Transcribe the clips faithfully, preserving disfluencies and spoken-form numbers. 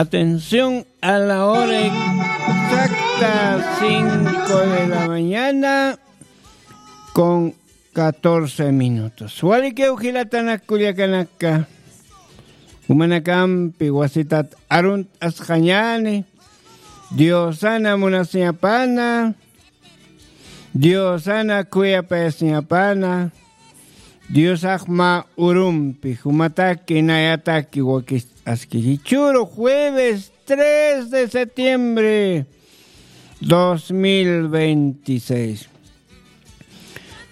Atención a la hora exacta, cinco de la mañana con catorce minutos. Walikiw jilatanak kullakanaka, jumanakampi wasitat arunt'asqañäni, Diosana munasiñapana, Diosana khuyapayasiñapana, Diosax mä urumpi jumataki nayataki wakist'aski. Jichhüru jueves tres de septiembre dos mil veintiséis.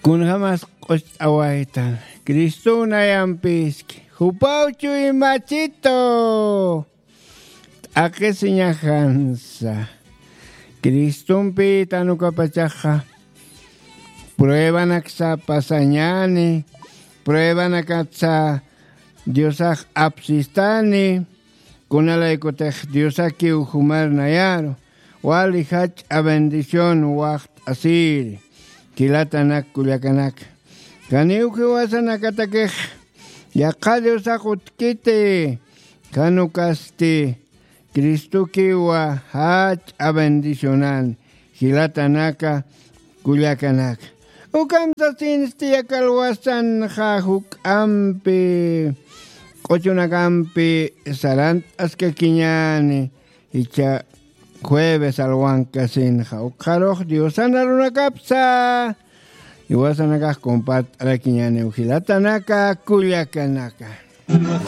Kunjamas q'ust'awaytan, Cristo nayampiski, jupaw chuymachito t'aqisiñajansa. Cristompi tanukapachaxa pruebanaksa pasañäni, pruebanakatsa Diosax apsistani, kunalaykutix Diosakiw jumar nayaru, wali jach'a bendición waxt'asiri, jilatanak kullakanaka. Janiw jiwasanakatakix yaqha Diosax utjkiti, jan ukasti Cristokiwa jach'a bendicionan, jilatanaka kullakanaka. Ukham sasinsti yaqha alwasanxa juk'ampi, q'uchunakampi sarant'askakiñäni, jichha jueves alwankasinxa. Ukxarux Diosan arunakapsa jiwasanakax compart'arakiñäniw, jilatanaka kullakanaka.